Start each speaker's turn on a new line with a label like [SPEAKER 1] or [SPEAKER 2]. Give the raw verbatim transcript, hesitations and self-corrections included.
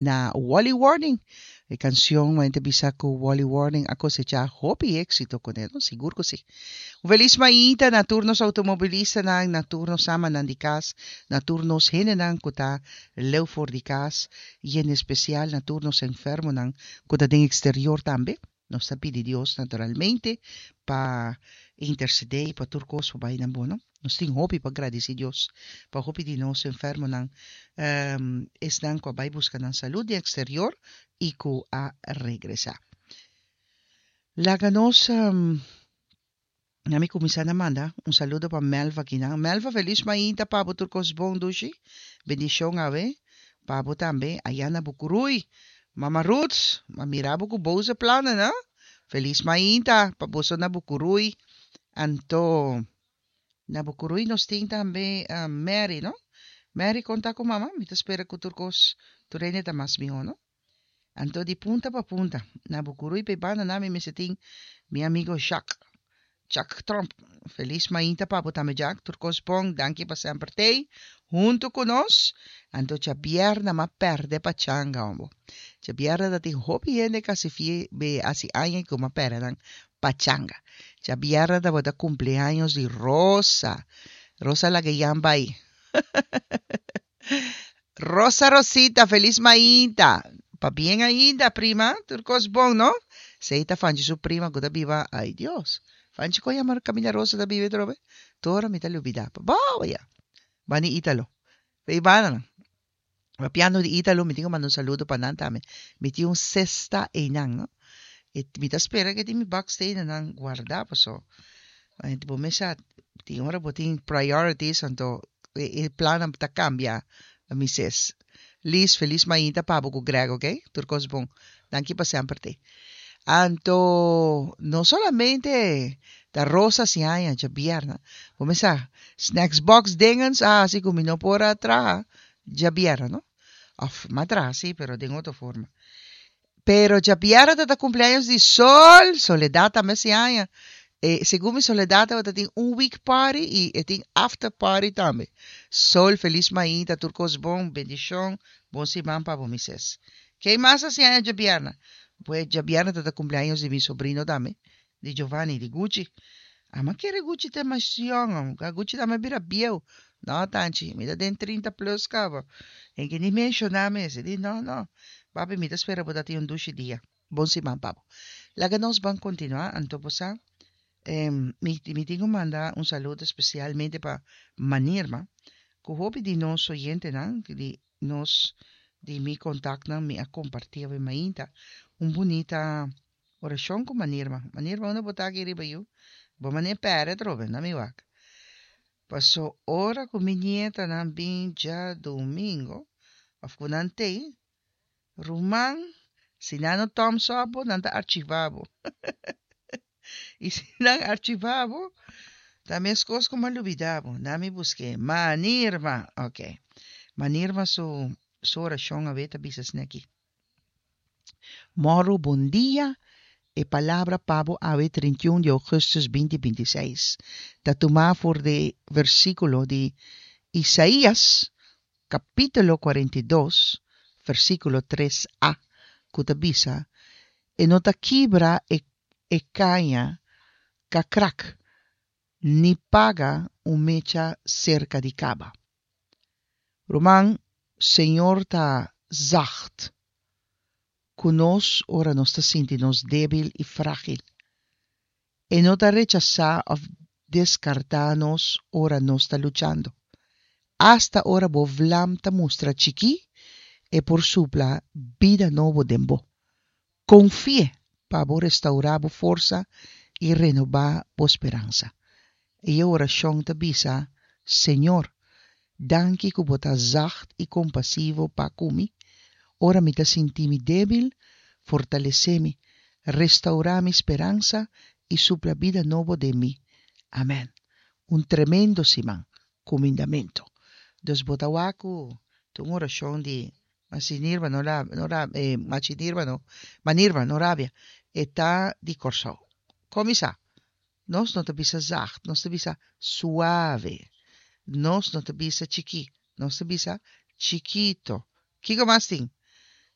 [SPEAKER 1] Na Wally Warning. E canción mente bisa cu Wally Warning a cosecha hopi éxito con él, no? Sigur cu si. Un feliz mainta na tur nos automobilistanan, na tur nos amanan di cas, na tur nos hendenan cu ta leu for di cas y en especial na tur nos enfermonan cu ta den exterior tambe. Nos ta pidi Dios naturalmente pa intercede y pa tur cos por bay na bon, no? Nos tin hopi pa gradici Dios pa hopi di nos enfermonan, um, esnan cu a bay busca nan salud den exterior y cu a regresa. Laga nos um, na mi cuminsa na manda un saludo pa Melva akinan. Melva, feliz mainta pa bo, tur cos bon, dushi. Bendicion awe pa bo tambe aya na Bucuruy. Mama Ruth, m'a mira bo cu boze plannen, no? Feliz mainta pa boso na Bucuruy. Anto na Bucuruy nos tin tambe uh, Mary, no? Mary, con ta cu mama? Mi ta spera cu tur cos tur hende ta mas miho, no? Anto di punta pa punta. Na Bucuruy pe banda na mi mester tin mi amigo Jacques. Jack Trump. Feliz mainta pa bo tambe, Jack. Tur cos bon. Danki pa semper t'ey hunto cu nos. Anto djabierna m'a perde pachanga, hombo. Djabierna ta tin hopi hende casi fie be hasi aña cu m'a perde nan pachanga. Djabierna tabata cumpleaños di Rosa. Rosa laga yan bay. Rosa Rosita, feliz mainta. Pabien ainda, prima. Tur cos bon, no? Esey ta Fanchi su prima cu ta biba. Ay, Dios. Fanchi con yama Camila Rosa ta biba trobe. Tora mi ta lubida. Boa ya. Bani Italo. Ve bana. Papiando di Italo, mi tin cu manda un saludo pa nan tambe. Mi tin un cesta einan, no? E mi ta spera cu tin mi bakstenen guarda paso. Bo mesa tin ora bo tin priorities, anto e, e plan ta cambia, mi sis. Liz, feliz mainta pa bo cu Greg, ok? Tur cos bon. Danki pa semper t'ey. Anto, no solamente ta Rosa hasi aña djabierna. Cuminsa, snacks box dingens, ah, asina cu mi no por a traha djabierna, no? Of, m'a traha, si, pero di otro forma. Pero djabierna ta cumpleaños di Sol, Soledad tambe hasi aña. Eh, segun mi Soledad tin un week party y e tin after party tambe. Sol, feliz mainta, tur cos bon, bendicion, bon siman pa bo, mi sis. Ken mas hasi aña djabierna? Pues djabierna ta cumpleaños di mi sobrino tambe, di Giovanni, di Gucci. Ah, m'a kere Gucci ta mas jong, Gucci tambe bira bieu. No, tanchi, mi ta den trinta plus caba. E ke ni menciona mes, di no, no. Papi, mi ta spera bo tin un dushi dia. Bon siman pa bo. Laga nos ban continua, anto bo sa. Eh, mi, mi tin cu manda un saludo especialmente pa Manirma, cu hopi di nos oyentenan, di nos di mi contacto mi a comparti cu mainta un bunita oracion cu Manirma. Manirma, unda bo ta aki riba yu? Bo mane pere trobe, na mi wak. Paso ora cu mi nietanan bin djadomingo, of cu nan t'ey, ruman, si nan no thumbs up bo, nan ta archiva bo. Y si nan archiva bo, tambe cos cu m'a lubida bo. Laga mi busca. Manirma, ok. Manirma su, su oracion awe ta bisa aki. Moro, bon dia. E palabra pa bo awe trinta i un di augustus dos mil binti seis. Ta tuma for di versiculo di Isaías, capítulo cuarenta i dos, versiculo tres A, cu ta bisa: "E no ta kibra e, e caña k'a krak, ni paga un mecha cerca di caba." Ruman, Señor ta zacht cu nos ora nos ta sinti nos debil y fragil. E no ta rechasa of descarta nos ora nos ta luchando. Hasta ora bo vlam ta mustra chiki, e por supla bida nobo den bo. Confia pa bo restaura bo forsa y renoba bo speransa. E oracion ta bisa: Señor, danki cu bo ta zacht y compasivo pa cu mi. Ora mi ta sinti mi debil, fortalece mi, restaura mi speransa y supla bida nobo den mi. Amen. Un tremendo siman, cumindamento. Dus bo ta wak cu, un oracion di Masinirba, no la, no la, eh, Machinirba, no, Manirba, no rabia. E ta di Corsou. Cuminsa. Nos no ta bisa zacht, nos ta bisa suave. Nos no ta bisa chiki, nos ta bisa chikito. Kico mas tin?